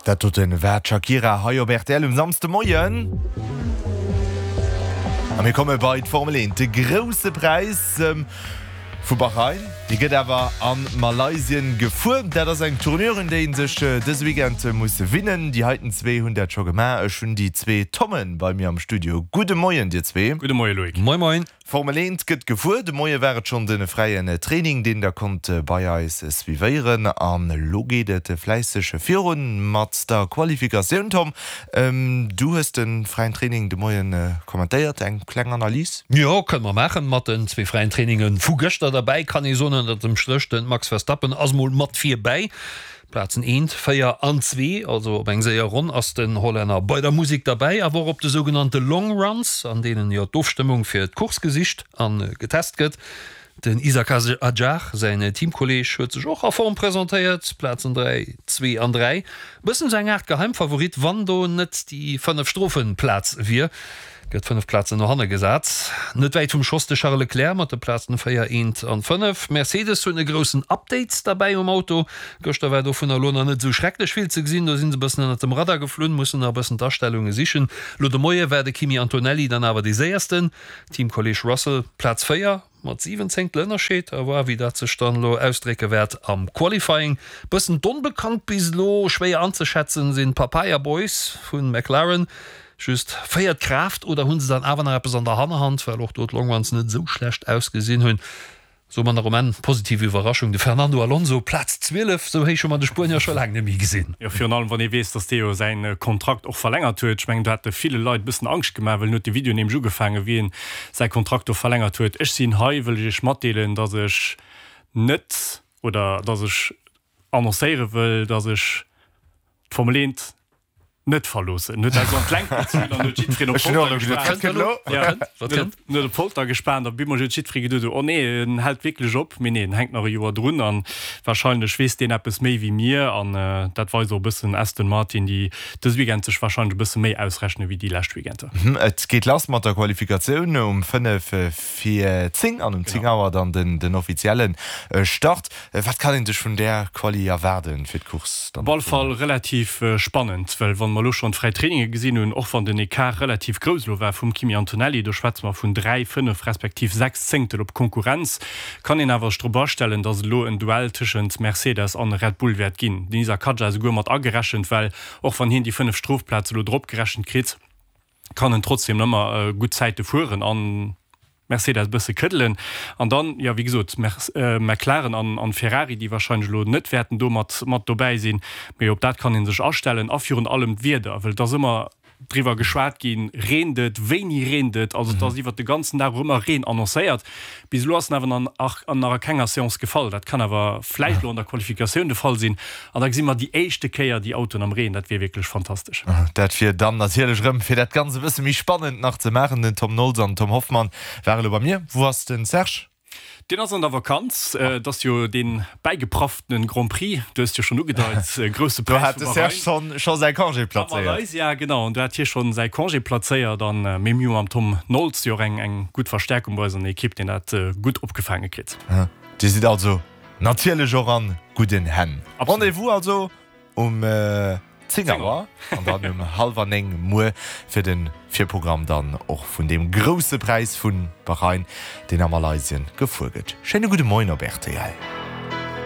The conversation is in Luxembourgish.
Dat doten war d'Shakira hei op rtl um Samsdemoien. A mir komme bei d'Formel 1, de grousse Präis vu Bahrain. Dee gëtt awer a Malaysien gefuer. Dat ass eng Tournure, un déi ee sech dëse Weekend muss winnen. Déi heiten zwee hunn dat scho gemaach. Ech hunn déi zwee Tommen bei mir am Studio. Gudde Moien, dir zwee. Gudde Moie Loïc. Moin moin. Formel 1 gëtt gefuer. De Moie war et schonn de fräien Training, deen der konnt bei eis suivéieren. An elo geet et fläisseg virun mat der Qualifikatioun. Tom, du hues de fräien Training de Moien kommentéiert. Eng kleng Analys? Jo, kënne mer maachen. Mat den zwee fräien Traininge vu gëschter derbäi kann ee soen, ënnert dem Stréch, de Max Verstappen ass mol mat virbäi. Plazen eent, 4 an zwee, also op eng séier Ronn ass den Hollänner bei der Musek derbäi, awer och op de sougenannte Long Runs, an deenen jo d'Ofstëmmung fir d'Course gesicht a getest gëtt. Den Isack Hadjar, säin Teamkolleeg, huet sech och a Form presentéiert, Plazen 3, zwee an 3. Bëssen esou eng Aart Geheimfavorit, wann do net déi 5 Strofenplaz wier. Gëtt 5 Plazen no hanne gesat. Net wäit vum Schoss de Charles Leclerc mat de Plazen 4, 1 an 5. Mercedes hunn e groussen Update derbäi um Auto. Gëschter war dovunner elo nach net esou schrecklech vill ze gesinn. Do sinn se e bëssen ënnert dem Radar geflunn, mussen nach e bëssen d'Astellunge sichen. Elo de Moie war de Kimi Antonelli dann awer dee séiersten. Teamkolleeg Russell Plaz 4. Mat 7 Zéngtel Ënnerscheed. A voir wéi dat sech dann elo ausdrécke wäert am Qualifying. Bëssen d'Onbekannt bis elo, schwéier anzeschätzen, sinn d'Papaya Boys vu McLaren. Just véiert Kraaft oder hu se dann awer nach eppes an der Hannerhand, well och do d'Longruns net esou schlecht ausgesinn hunn. Soe mer nach um Enn, positiv Iwwerraschung, de Fernando Alonso, Plaz 12, esou héich hu mer de Spuenier scho laang net méi gesinn. Jo, virun allem wann ee weess, datt dee jo säi Kontrakt och verlängert huet. Ech mengen, do hat e ville Leit e bëssen Angscht gemaach, well en huet de Video nämlech ugefaangen, wéi en säi Kontrakt do verlängert huet. Ech sinn hei, wëll ech Iech matdeelen, datt ech net, oder datt ech annoncéiere wëll, datt ech d'Formel 1 net verloossen. En huet also an d'Längt gezunn an huet jiddwereen op d'Folter gespaant. En huet op d'Folter gespaant a bemol huet jiddweree geduet, oh nee, en hält wierklech op. Mee nee, en hänkt nach e Joer drun a warscheinlech weess deen eppes méi wéi mir. An dat weist och e bëssen Aston Martin, déi dës Weekend sech warscheinlech e bësse méi ausrechne wéi déi lescht Weekender. Et geet lass mat der Qualifikatioun um 5 fir 10 an um 10 Auer dann den offizielle Start. Wat kann een sech vun där Quali erwaarden fir d'Course dann? Op alle Fall relativ spannend, well wann mer elo schonn d'fräi Traininge gesinn hunn, och wann den Ecart relativ grouss elo war vum Kimi Antonelli, do schwätze mer vun 3, 5 respektiv 6 Zéngtel op Konkurrenz, kann een awer sech drop astellen, datt et elo en Duell tëschent Mercedes an Red Bull wäert ginn. Den Isack Hadjar esouguer mat agerechent, well och wann hien déi 5 Strofplaze elo drop gerechent kritt, kann en trotzdem ëmmer gutt Zäite fueren an Mercedes e bësse këddelen. An dann, jo wéi gesot, McLaren an Ferrari, déi wahrscheinlech elo net wäerten do mat mat dobäi sinn, mee op dat kann ee sech astellen. A virun allem d'Wieder, well et ass ëmmer driwwer geschwat ginn, reent et, wéini reent et, also et ass iwwert de ganzen Dag och ëmmer Reen annoncéiert. Bis elo ass en awer nach a kenger Seance gefall. Dat kann awer vläicht elo an der Qualifikatioun de Fall sinn. An da gesi mer déi éischte Kéier déi Autoen am Reen. Dat wier wierklech fantastesch. Dat wier dann natierlech erëm, fir dat Ganzt e bësse méi spannend nach ze maachen. Den Tom Nolz an den Tom Hoffmann ware elo bei mir. Wou ass den Serge? Deen ass an der Vakanz. Et ass jo dee bäigeprafftene Grand Prix, du hues et jo schonn ugedeit, grousse Präis vu Bahrain. Do hat de Serge scho säi Congé plazéiert. A Malaysia, genau. An do hat hie schonn säi Congé plazéiert. An mee mir hu mam Tom Nolz jo och eng gutt Verstäerkung bei eis an der Ekipp, deen dat gutt opgefaange kritt. Dir sidd also natierlech och an gudden Hänn. Rendez-vous also um 10 Auer an dann um hallwer 9 muer fir de Virprogramm dann och vun deem grousse Präis vu Bahrain, deen a Malaysien gefuer gëtt. Schéine gudde Moien op rtl.